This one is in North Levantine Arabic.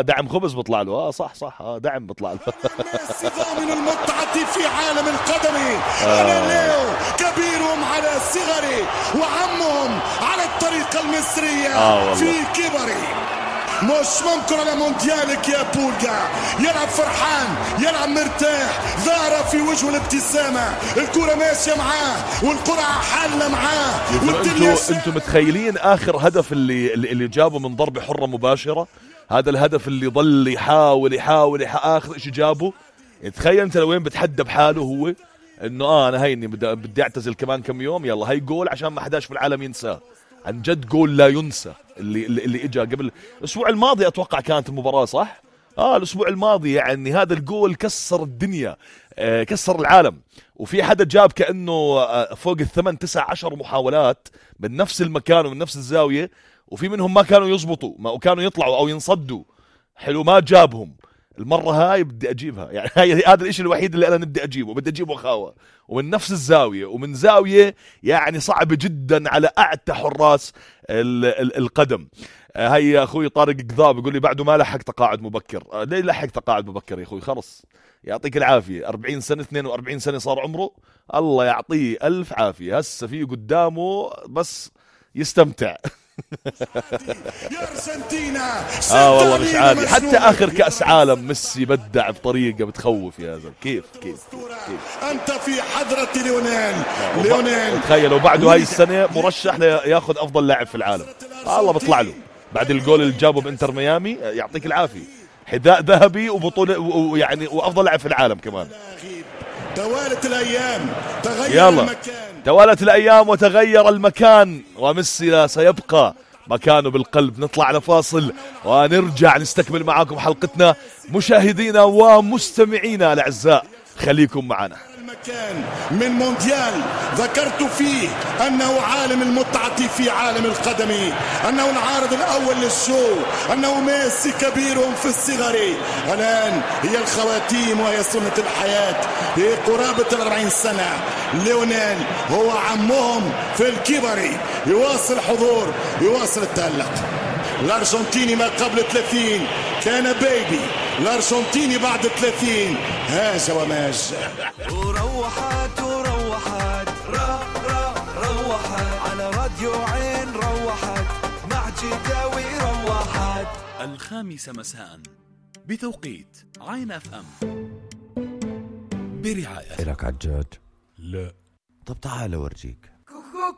دعم خبز بطلع له. صح دعم بطلع له. من المتعة في عالم القدم. أنا ليو كبيرهم على صغري وعمهم على الطريقة المصرية في كبري. مش ممكن على مونديالك يا بولجا. يلعب فرحان، يلعب مرتاح، ظاهرة في وجهه الابتسامة، الكرة ماشية معاه والقرعة حالة معاه. انتوا متخيلين آخر هدف اللي جابه من ضربة حرة مباشرة؟ هذا الهدف اللي ضل يحاول آخر إشي جابه. تخيل انت لوين بتحدى بحاله هو انه انا هيني بدي اعتزل كمان كم يوم، يلا هي جول عشان ما حداش في العالم ينساه. عن جد جول لا ينسى اللي اجا قبل الاسبوع الماضي، اتوقع كانت المباراة صح؟ الاسبوع الماضي. يعني هذا الجول كسر الدنيا، كسر العالم. وفي حدا جاب كأنه فوق 8 9 10 محاولات من نفس المكان ومن نفس الزاوية، وفي منهم ما كانوا يزبطوا، ما كانوا يطلعوا او ينصدوا. حلو، ما جابهم. المرة هاي بدي أجيبها. يعني هذا الإشي الوحيد اللي أنا بدي أجيبه، بدي أجيبه خاوة ومن نفس الزاوية ومن زاوية يعني صعبة جدا على أعتى حراس القدم. هاي يا أخوي طارق قذاب يقول لي بعده ما لحق تقاعد مبكر. ليه لحق تقاعد مبكر يا أخوي؟ خلص يعطيك العافية. 40 سنة 42 سنة صار عمره، الله يعطيه ألف عافية. هسه فيه قدامه بس يستمتع. والله مش عادي. حتى آخر كأس عالم ميسي بدع بطريقة بتخوف يا زلمة. كيف أنت في حضرة ليونيل تخيلوا بعده هاي السنة مرشح لياخذ أفضل لاعب في العالم. الله بطلع له بعد الجول اللي جابه بإنتر ميامي. يعطيك العافية، حذاء ذهبي وبطولة ويعني وأفضل لاعب في العالم كمان. توالت الأيام تغير المكان، توالت الأيام وتغير المكان، وميسي سيبقى مكانه بالقلب. نطلع لفاصل ونرجع نستكمل معاكم حلقتنا مشاهدينا ومستمعينا الأعزاء. خليكم معنا. المكان من مونديال ذكرت فيه أنه عالم المتعة في عالم القدم، أنه العارض الأول للشو، أنه ميسي كبيرهم في الصغر. الآن هي الخواتيم وهي سنة الحياة. في قرابة 40 سنة ليونيل هو عمهم في الكبر. يواصل حضور، يواصل التألق. الأرجنتيني ما قبل 30 كان بيبي، الأرجنتيني بعد 30 هاج وماج. وروحت روحت على راديو عين، روحت مع جداوي، روحت 5 مساء بتوقيت عين اف ام برعاية. إلك عجاج؟ لا. طب تعال اورجيك.